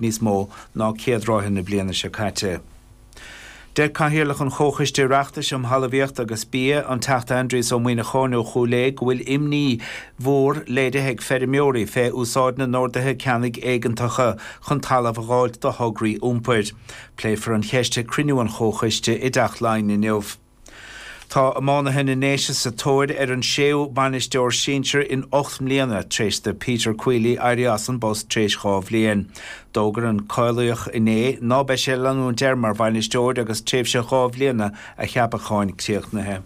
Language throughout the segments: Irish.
Níos mó ná céad ráithe na bliana seo caite. Deir Cathaoirleach an Chomhchoiste Oireachtais um Thalmhaíocht agus Bia, an Teachta Aindrias Ó Muimhneacháin ó Chúil Aodha go bhfuil imní mhór léirithe ag feirmeoirí fé úsáid na n-orduithe ceannaigh éigeantacha chun talamh a dh'fháilt do thograí iompair. Pléifear an cheist ag cruinniú an Chomhchoiste i dTeach Laighean inniu. Tá iománaithe na nDéise sa tóir ar an séú bainisteoir sinsir in 8 mbliana tar éis do Peter Queally éirí as an bpost tar éis 2 bhliain. D'fhógair an Caolaíoch inné ná beidh sé ag leanúint air mar bhainisteoir agus tréimhse 2 bhliana a cheapacháin críochnaithe.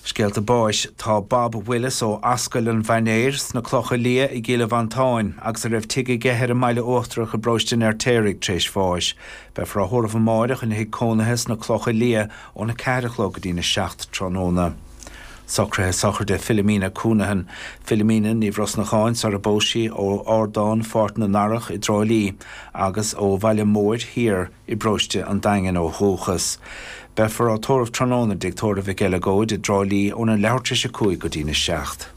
Scéalta báis Tá Bob Willis ó Ascaill an Mhainéir sna Clocha Liath i gCill Mhantáin agus a raibh tigh aige ar an mBaile Uachtarach i bparóiste an Fheirtéaraigh tar éis bháis. Beifear á thórramh amáireach ina thigh cónaithe sna Clocha Liath óna 4 a chlog go dtína 7 tráthnóna. Socruithe sochraide Philomena Counihan, Philomena Ní Bhrosnacháin sar a bpós sí ó Ardán Pháirc na nDarach i dTrá Lí agus ó Bhaile Móir Thiar i bparóiste an Daingin ó dhúchas. Beifear á tórramh tráthnóna i dTigh Tórraimh Mhic Eileagóid i dTrá Lí óna leathuair tar éis 5 go dtína 7.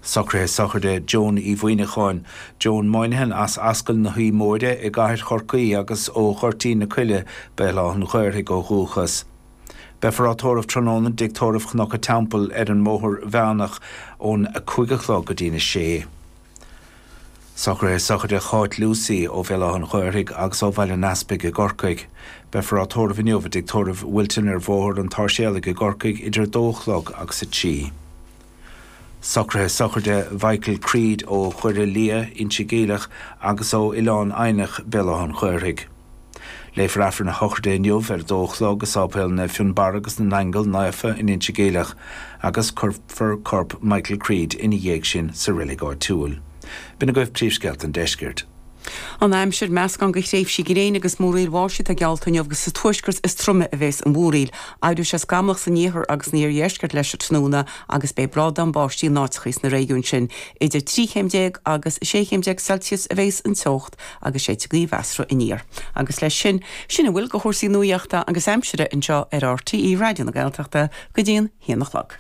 Socruithe sochraide Joan Uí Mhuimhneacháin, Joan Moynihan as Ascaill na hUí Móire i gCathair Chorcaí agus ó Ghoirtín na Coille, Béal Átha an Ghaorthaidh ó dhúchas. Beifear á tórramh tráthnóna i dTigh Tórraimh Chnoc a' Teampaill ar an mBóthar Mheánach ón 5 a chlog go dtína 6. Socruithe sochraide Cháit Lucey ó Bhéal Átha an Ghaorthaidh agus ó Bhaile an Easpaig i gCorcaigh. Beifear á tórramh inniu i dTigh Tórraimh Wilton ar Bhóthar an tSáirséalaigh i gCorcaigh idir 2 a chlog agus 3. Socruithe sochraide Mhichael Creed ó Dhoire Liath, Inse Geimhleach agus ó Oileán Eidhneach, Béal Átha an Ghaorthaidh. Léifear Aifreann a shochraide inniu ar 2 a chlog i Sáipéal Naomh Fionnbarra agus na nAingeal Naofa in Inse Geimhleach agus cuirfear corp Michael Creed ina dhiaidh sin sa reilig áitiúil. B'in agaibh príomhscéalta an deiscirt. An aimsir, Meascán de thréimhsí gréine agus múraíl bháistí atá geallta inniu agus sa tuaisceart is troime a bhéas an mhúraíl. Éireoidh sé scamallach san iarthar agus san iardheisceart leis an tráthnóna agus beidh brádán báistí in áiteachaí sna réigiúin sin. Idir 13 chéim agus 16 chéim Celsius a bhéas an teocht agus séidfidh gaoth mheasartha aniar. Agus leis sin, sin a bhfuil de chúrsaí nuaíochta agus aimsire anseo ar RTÉ Raidió na Gaeltachta go dtí an haon a chlog.